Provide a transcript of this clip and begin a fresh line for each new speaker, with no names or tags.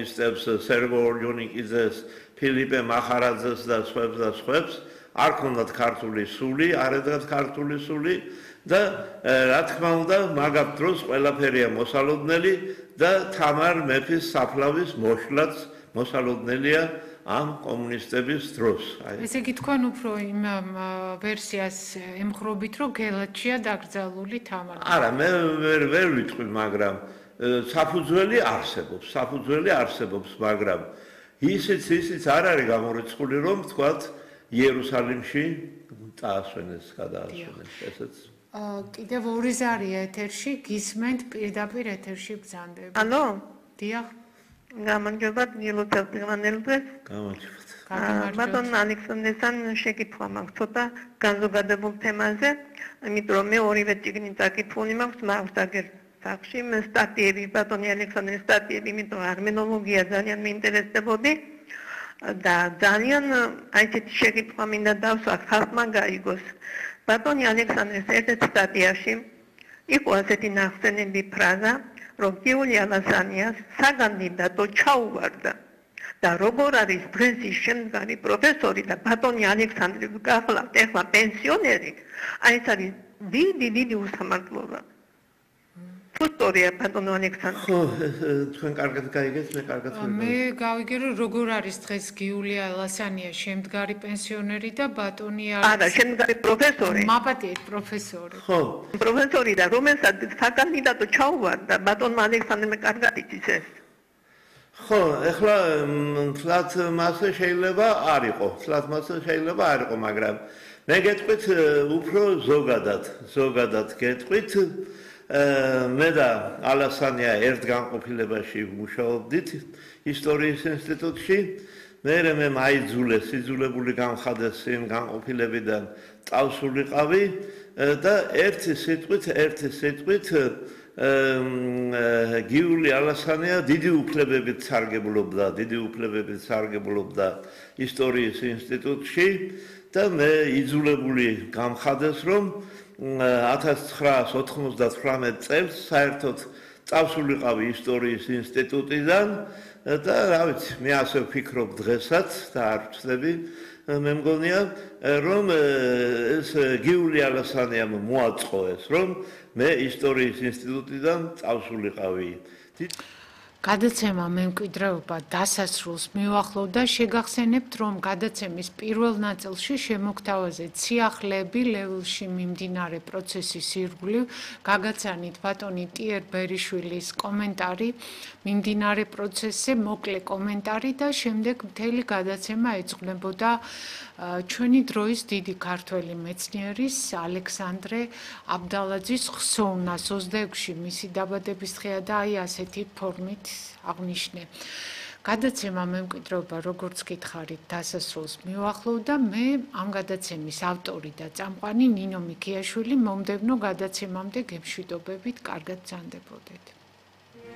კომუნისტებს, სერგო ორჯონიკიძეს, ფილიპე მახარაძეს და სხვებს, არ ქონდათ ქართული სული, არ ედგათ ქართული სული და რა თქმა უნდა, მაგ დროს ყველაფერია მოსალოდნელი და თამარ მეფის საფლავის მოშლაც მოსალოდნელია ამ კომუნისტების დროს.
ესე იგი თქვენ უფრო იმ ვერსიას ემხრობით, რომ გელათშია დაკრძალული თამარ.
არა, მე ვერ ვიტყვი, მაგრამ საფუძველი არსებობს, მაგრამ ისიც არ არის გამორიცხული, რომ თქვათ იერუსალიმში წაასვენეს, გადაასვენეს, ესეც.
კიდევ ორი ზარია ეთერში, გისმენთ პირდაპირ ეთერში ბრძანდები.
ალო?
დიახ.
გამარჯობა, დილოთელ დღევანდელზე.
გამარჯობათ.
ბატონ ალექსანდრესთან შეკითხვა მაქვს ცოტა განზოგადებულ თემაზე, იმიტომ რომ მე ორივე წიგნი წაკითხული მაქვს მაგსაგერ სახში, სტატიები, ბატონი ალექსანდრეს სტატიები, იმიტომ რომ არმენოლოგია ძალიან მეინტერესდებოდი და ძალიან აი ესეთი შეკითხვა მინდა დავსვა ხალხმა გაიგოს. ბატონი ალექსანდრეს ერთ-ერთ სტატიაში იყო ასეთი ნახსენები ფრაზა, რომ გიული ალასანიას საკანდიდატო ჩაუვარდა და როგორ არის დღეს ის შემდგარი პროფესორი და ბატონი ალექსანდრე გახლავთ ეხლა პენსიონერი, აი ეს არის დიდი უსამართლობა. ფუტორია ბატონო ალექსანდრე.
ხო, თქვენ კარგად გაიგეთ, მე კარგად ვიგებ.
მე გავიგე, რომ როგორ არის დღეს გიული ალასანია შემდგარი პენსიონერი და ბატონი
არა, შემდგარი პროფესორი.
მაპატიეთ პროფესორი.
ხო.
პროფესორი და რომელსაც საკანდიდატო ჩაუვარდა ბატონმა ალექსანდრემ კარგად იცის ეს.
ხო, ეხლა თლათ მასე შეიძლება არ იყო, მაგრამ მე გეტყვით უფრო ზოგადად გეტყვით. მე და ალასანია ერთ განყოფილებაში ვმუშაობდით ისტორიის ინსტიტუტში. მე მაიძულეს, იძულებული გამხადეს იმ განყოფილებიდან წავსულიყავი და ერთი სიტყვით გიული ალასანია დიდი უფლებებით სარგებლობდა ისტორიის ინსტიტუტში და მე იძულებული გამხადეს, რომ 1999 წელს საერთოდ წავსულიყავი ისტორიის ინსტიტუტიდან და რა ვიცი, მე ასე ვფიქრობ დღესაც და არ ვცდები, მე მგონია, რომ ეს გიული ალასანიამ მოაწყო ეს, რომ მე ისტორიის ინსტიტუტიდან წავსულიყავი.
გადაცემა მემკვიდრეობა დასასრულს მივახლოვდა, შეგახსენებთ, რომ გადაცემის პირველ ნაწილში შემოგთავაზეთ სიახლეები ლევილში მიმდინარე პროცესის ირგვლივ, გაგაცანით ბატონი ტიერ ბერიშვილის კომენტარი მიმდინარე პროცესზე, მოკლე კომენტარი და შემდეგ მთელი გადაცემა ეძღვნებოდა ჩვენი დროის დიდი ქართველი მეცნიერის ალექსანდრე აბდალაძის ხსოვნას 26-ში მისი დაბადების დღეა და აი ასეთი ფორმით აღნიშნე. გადაცემა მემკვიდრეობა, როგორც გითხარით, დასასრულს მივახლოვდა. მე ამ გადაცემის ავტორი და წამყვანი ნინო მიქიაშვილი, მომდევნო გადაცემამდე გემშვიდობებით, კარგად ბრძანდებოდეთ.